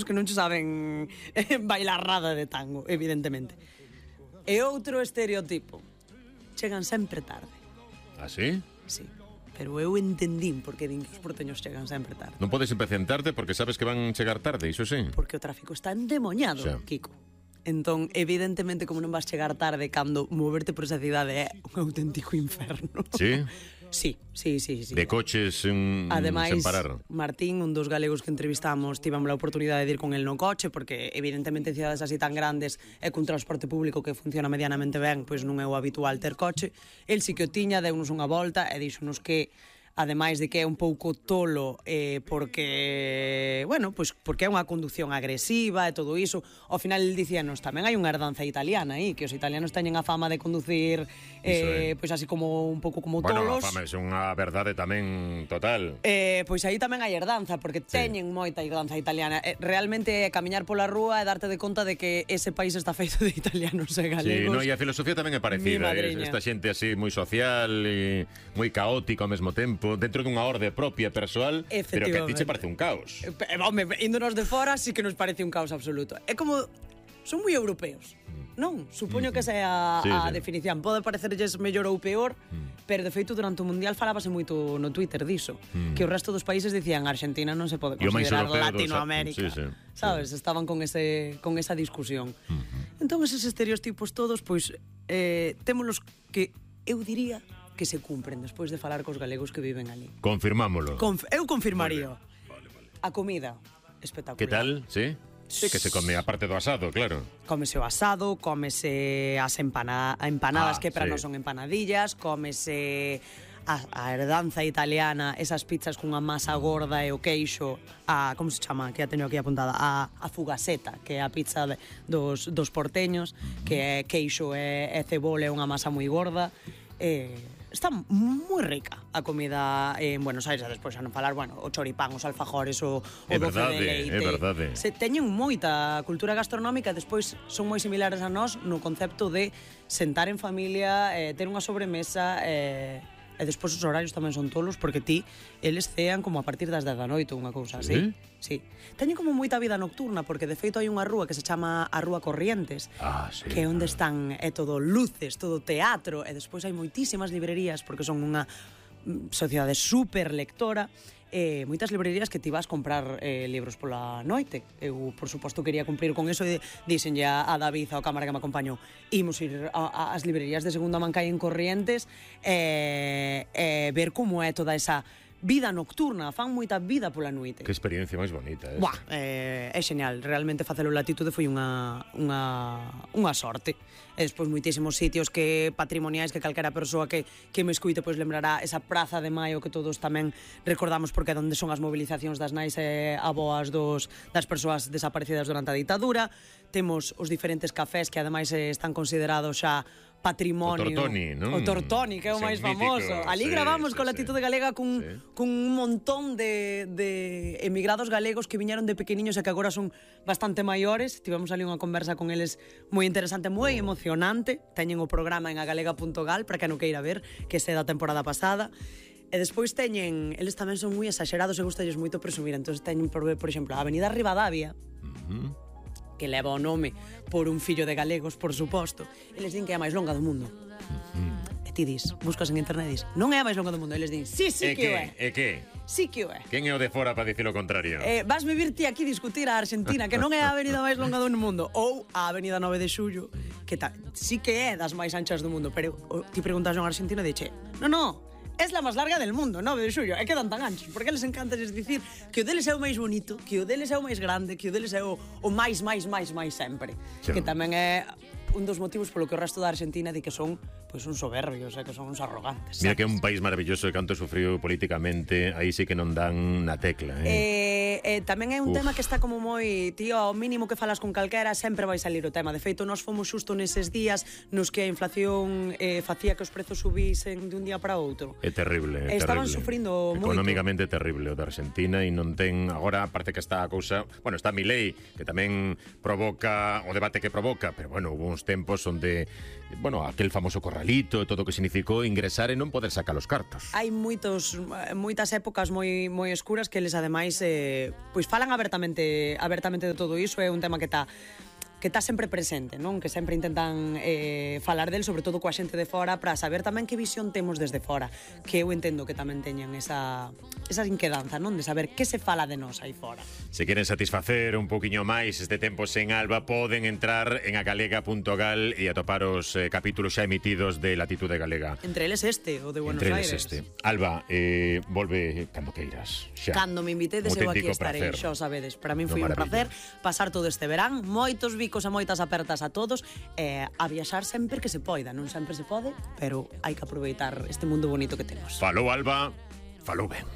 que non che saben bailar nada de tango, evidentemente. E outro estereotipo, chegan sempre tarde. Ah, sí? Sí, pero eu entendín porque din que os porteños chegan sempre tarde. Non podes empecentarte porque sabes que van chegar tarde, iso sí. Porque o tráfico está endemoñado, Xa. Kiko. Entón, evidentemente, como non vas chegar tarde cando moverte por esa cidade é un auténtico inferno. Sí? Sí. De coches sen parar. Martín, un dos galegos que entrevistamos, tivemos a oportunidade de ir con el no coche, porque evidentemente en cidades así tan grandes e cun transporte público que funciona medianamente ben, pois non é o habitual ter coche. El sí que o tiña, deunos unha volta e díxonos que ademais de que é un pouco tolo porque, bueno, pois porque é unha conducción agresiva e todo iso, ao final el dicíanos tamén hai unha herdanza italiana aí, que os italianos teñen a fama de conducir pois así como un pouco como tolos. Bueno, a fama é unha verdade tamén total. Pois aí tamén hai herdanza, porque teñen moita herdanza italiana. Realmente camiñar pola rúa e darte de conta de que ese país está feito de italianos e galegos. Sí, no, e a filosofía tamén é parecida. Esta xente así moi social e moi caótico ao mesmo tempo, dentro dunha orde propia persoal, pero que a ti che parece un caos. Home, índonos de fora sí que nos parece un caos absoluto. É como... Son moi europeos, non? Supoño que esa é a definición. Pode parecerlles mellor ou peor, pero de feito durante o Mundial falábase moito no Twitter diso, que o resto dos países dicían Argentina non se pode considerar Latinoamérica. Sabes? Estaban con esa discusión. Entón, eses estereotipos todos, pois, témolos que eu diría que se cumpren despois de falar cos galegos que viven ali. Confirmámolo. Eu confirmaría. Vale. A comida, espectacular. Que tal? Sí? Sí, que se come a parte do asado, claro. Cómese o asado, cómese as empanadas que para nós son empanadillas, cómese a herdanza italiana, esas pizzas cunha masa gorda e o queixo, como se chama, que a teño aquí apuntada, a fugaseta, que é a pizza dos porteños, que é queixo e cebola e unha masa moi gorda. Está moi rica a comida en Buenos Aires, despois xa non falar, bueno, o choripán, os alfajores, o doce de leite. É verdade. Teñen moita cultura gastronómica, despois son moi similares a nós no concepto de sentar en familia, ter unha sobremesa, e despois os horarios tamén son tolos, porque eles cean como a partir das 10 da noite, unha cousa así. Sí. Teñen como moita vida nocturna, porque de feito hai unha rúa que se chama a Rúa Corrientes, que é onde están todo luces, todo teatro, e despois hai moitísimas librerías, porque son unha sociedade super lectora, moitas librerías que ti vas comprar libros pola noite. Eu, por suposto, quería cumprir con eso e dixenlle a David, ao cámara que me acompañou, imos ir ás librerías de segunda man que hai en Corrientes e ver como é toda esa vida nocturna, fan moita vida pola noite. Que experiencia máis bonita esa. Buah, é xeñal, realmente facelo en Latitude foi unha sorte. E despois moitísimos sitios que patrimoniais que calquera persoa que me escuite pois lembrará esa Praza de Maio que todos tamén recordamos porque é onde son as movilizacións das nais e aboas das persoas desaparecidas durante a ditadura. Temos os diferentes cafés que ademais están considerados xa patrimonio. O Tortoni, non? O Tortoni, que é o máis famoso. Ali gravamos con Latitude Galega cun un montón de emigrados galegos que viñeron de pequeniños e que agora son bastante maiores. Tivemos ali unha conversa con eles moi interesante, moi emocionante. Teñen o programa en agalega.gal para que non queira ver, que é da temporada pasada. E despois eles tamén son moi exagerados e gustalles moito presumir. Entón teñen, por exemplo, a Avenida Rivadavia, que leva o nome por un fillo de galegos, por suposto, e les din que é a máis longa do mundo. E ti dis, buscas en internet e dis, non é a máis longa do mundo, e les din, sí que o é. E que? Sí que o é. Quen é o de fora para dicir o contrario? Vas me vir ti aquí discutir a Argentina, que non é a avenida máis longa do mundo, ou a avenida 9 de Xullo, que sí que é das máis anchas do mundo, pero ti preguntas a un argentino e dixe, no, es la máis larga del mundo, 9 de Xullo, e quedan tan anchos, porque les encanta dicir que o deles é o máis bonito, que o deles é o máis grande, que o deles é o máis sempre, que tamén é un dos motivos polo que o resto da Argentina di que son pois uns soberbios, que son uns arrogantes. Mira que é un país maravilloso e canto sufriu políticamente, aí sí que non dan na tecla. Tamén é un tema que está como moi, tío, ao mínimo que falas con calquera sempre vai salir o tema. De feito, nós fomos xusto neses días nos que a inflación facía que os prezos subisen de un día para outro. É terrible, é Estaban terrible. Sufrindo moito. Económicamente terrible o da Argentina e non ten, agora parece que está a cousa, bueno, está Milei, que tamén provoca o debate que provoca, pero bueno, hubo uns aqueles tempos onde, bueno, aquel famoso corralito e todo o que significou ingresar e non poder sacar os cartos. Hai moitas épocas moi escuras que eles ademais pois falan abertamente de todo iso. É un tema que está sempre presente, non? Que sempre intentan falar del, sobre todo coa xente de fora, para saber tamén que visión temos desde fora, que eu entendo que tamén teñan esa inquedanza, non? De saber que se fala de nós aí fora. Se queren satisfacer un poquinho máis este tempo sen Alba, poden entrar en agalega.gal e atopar os capítulos xa emitidos de Latitude Galega. Entre eles o de Buenos Aires. Alba, volve cando queiras. Xa. Cando me invitedes, eu aquí estarei, xa o sabedes. Para min foi un placer pasar todo este verán, moitos bicos e moitas apertas a todos, a viaxar sempre que se poida. Non sempre se pode, pero hai que aproveitar este mundo bonito que temos. Falou Alba, falou ben.